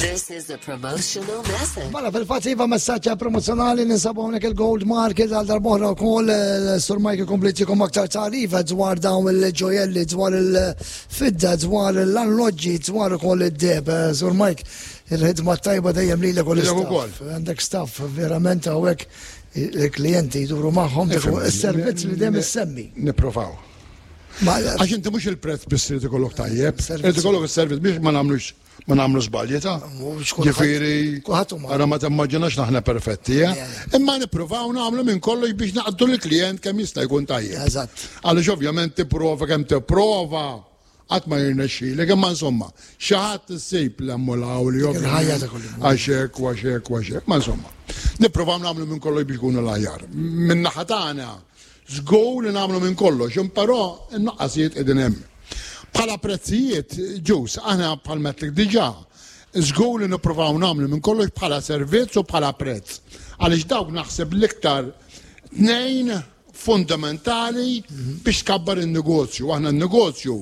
This is a promotional message. Mela fil-fatt iva messaġġ promozzjonali ninsabu hawnhekk il-Gold Market għal darb'oħra wkoll eh, Sur Mike ikompli jtikom aktar tagħrif dwar dawn il-ġojelli, dwar il-fidda, dwar l-alloġġi, dwar ukoll id-deb. Eh, Sur Mike, il-ħidma tajba dejjem lilek u Lilek ukoll. l-istaff. Għandek staff verament hawnhekk il-klijenti jduru magħhom is-servizz li dejjem issemmi. Nipprovaw. Għax inti mhux il-prezz biss irid ikollok tajjeb, irid ikollok is-servizz biex ma nagħmlux ma nagħmlu żbalji ta' Ġifieri, ara ma timmaġinax naħna perfetti, eh? Imma nippruvaw nagħmlu minn kollox biex naqdu l-klient kemm jista' jkun tajjeb. Eżatt. Għaliex ovvjament tipprova kemm tipprova qatt ma jirnexxilek, imma insomma, xi ħadd issib l hemm u l li għax hekk u għax hekk u għax hekk. Ma insomma, nippruvaw nagħmlu minn kollox biex ikunu l-aħjar. Minn naħa tagħna, żgur li nagħmlu minn kollox, però n-nuqqasijiet qegħdin hemm. Bħala prezzijiet, ġus, aħna bħal metlik diġà, żgur li nippruvaw nagħmlu minn kollox bħala servizz u bħala prezz. Għaliex dawk naħseb l-iktar tnejn fundamentali biex tkabbar in-negozju. Aħna n-negozju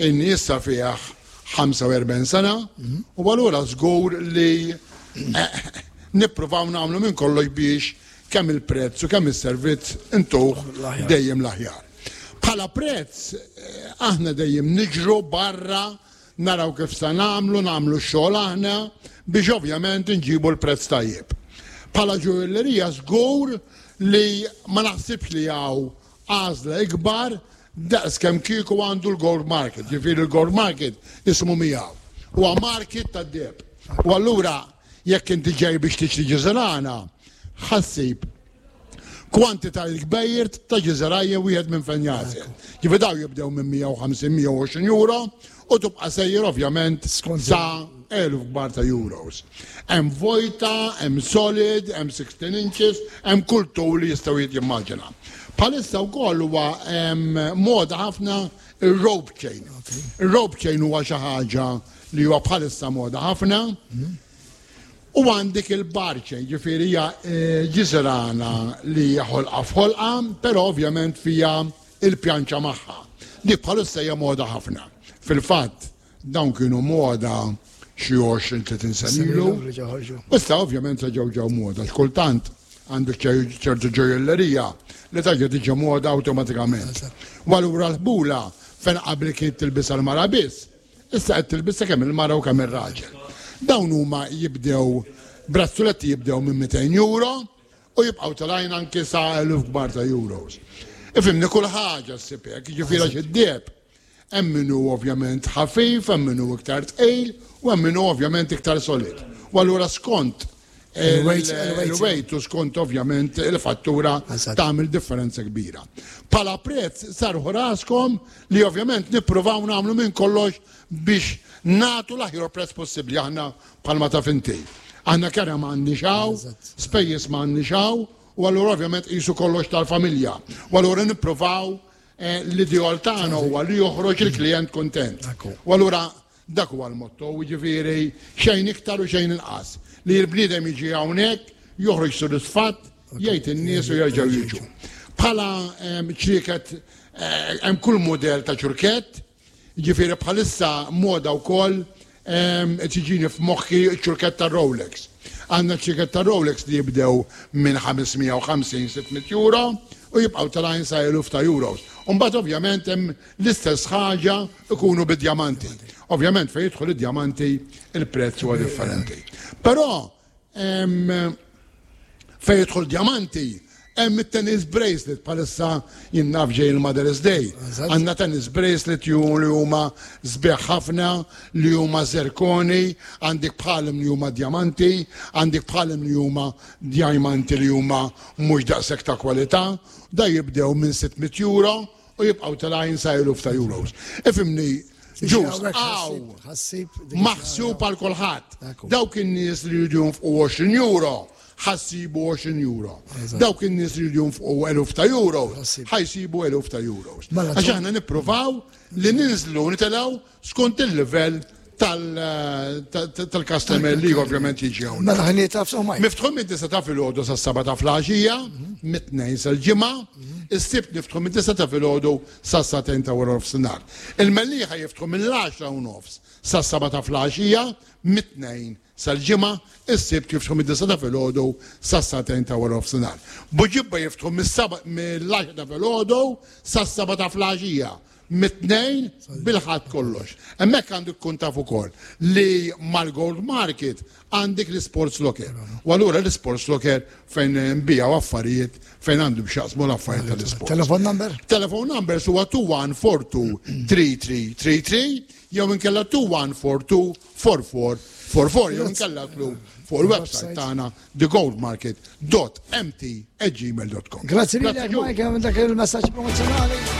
inni issa fih 45 sena u allura żgur li eh, nippruvaw nagħmlu minn kollox biex kemm il-prezz u kemm is-servizz intuh dejjem l-aħjar. Bħala prezz eh, aħna dejjem niġru barra naraw kif sa nagħmlu, nagħmlu x-xogħol aħna biex ovvjament inġibu l-prezz tajjeb. Bħala ġujellerija żgur li ma naħsibx li hawn għażla ikbar daqs kemm kieku għandu l-gold market, ġifieri l-gold market ismu miegħu. Huwa market tad-deheb. U allura jekk inti ġej biex tixtri ġiżirana, ħassib kwantitajiet kbejr ta' ġiżirajja wieħed minn fejn jagħżel. Ġifieri daw jibdew minn 150-120 euro u tibqa' sejjer ovvjament sa eluf kbar ta' euros. Hemm vojta, hemm solid, hemm 16 inches, hemm kull tul li jistgħu jimmaġina. Bħalissa wkoll huwa moda ħafna ir-rope chain. Ir-rope chain huwa xi ħaġa li huwa bħalissa moda ħafna. U għandek il-bar chain, ġifieri hija eh, ġiżrana li hija ħolqa f'ħolqa, però ovvjament fija il-pjanċa magħha. Dik bħalissa hija moda ħafna. Fil-fatt, dawn kienu moda xi 20-30 sena ilu. Issa ovvjament se ġew ġew moda, xkultant għandek ċertu ġojjellerija li taġa tiġi moda awtomatikament. U allura l-ħbula fejn qabel kien tilbisha l-mara biss, issa qed tilbisha kemm il-mara u kemm ir-raġel. Dawn huma jibdew brazzuletti jibdew minn 200 euro u jibqgħu telgħin anki sa eluf kbar ta' euros. Ifhimni kull ħaġa ssib hekk, jiġifieri għax id-deheb hemm min hu ovvjament ħafif, hemm min hu iktar tqil u hemm min hu ovvjament iktar solid. U allura skont il-weight u skont ovvjament il-fattura tagħmel differenza kbira. Bħala prezz sarħu raskom li ovvjament nippruvaw nagħmlu minn kollox biex nagħtu l-aħjar prezz possibbli aħna bħalma taf inti. Aħna kera ma għandniex hawn, spejjeż ma għandniex hawn, u allura ovvjament qisu kollox tal-familja. U allura nippruvaw eh, l-ideal tagħna huwa li joħroġ il-klijent kuntent. U allura dak huwa l-motto, jiġifieri xejn iktar u xejn inqas. Li l-bniedem jiġi hawnhekk, joħroġ sodisfatt, jgħid in-nies u jerġgħu jiġu. Bħala ehm, ċrieket eh, hemm kull mudell ta' ċurkett, Jiġifieri bħalissa moda wkoll qed jiġini f'moħħi ċ-ċurkett tar-Rolex. Għandna ċ-ċurkett tar-Rolex li jibdew minn 550, 600 euro u jibqgħu telgħin sa eluf ta' euros. U mbagħad ovvjament hemm l-istess ħaġa jkunu bid-djamanti. Ovvjament fejn jidħol id-djamanti il-prezz huwa differenti. Però Fejn jidħol djamanti, hemm it-tennis bracelet bħalissa jien naf ġej il-Mother's Day. Għandna tennis bracelet ju li huma sbieħ ħafna, li huma zirkoni, għandek bħalhom li huma djamanti, għandek bħalhom li huma djamanti li huma mhux daqshekk ta' kwalità. Da jibdew minn 600 euro u jibqgħu telgħin sa eluf ta' euros. Ifhimni, ġus, għaw, maħsub għal kulħadd. Dawk in-nies li jridu jonfqu 20 euro, ħassibu 20 euro. Dawk in-nies li jridu jonfqu eluf ta' euro, ħajsibu eluf ta' euros. Mela, Għax aħna nippruvaw li ninżlu nitelgħu skont il-livell tal-customer li ovvjament jiġi hawn. Mela ħin taf so Miftħu mid-disa ta' filgħodu sas-seba' ta' flaxija, mit-tnejn sal-ġimgħa, is-sibt niftħu mid-disa ta' filgħodu sas-sagħtejn ta' wara nofsinhar. Il-Mellieħa jiftħu mill-10 u nofs sas-seba' ta' flaxija, mit-tnejn sal-Ġimgħa, is-Sibt jiftħu mid-disgħa ta' filgħodu sas-sagħtejn ta' waranofsinhar. Buġibba jiftħu mill-għaxra ta' filgħodu sas-sebgħa ta' flaxija, mit-Tnejn bil-Ħadd kollox. Hemmhekk għandek tkun taf ukoll li mal-Gold Market għandek l-Sports Locker. U allura l-Sports Locker fejn nbijaw affarijiet fejn għandu b'xaqsmu l-affarijiet tal-isport. Telephone number? Telephone numbers huwa 21423333 jew inkella 2142 4444 jew inkella tlu fuq il-website tagħna thegoldmarket.mt@gmail.com. Grazzi lilek Michael minn dak il-messaġġ promozzjonali.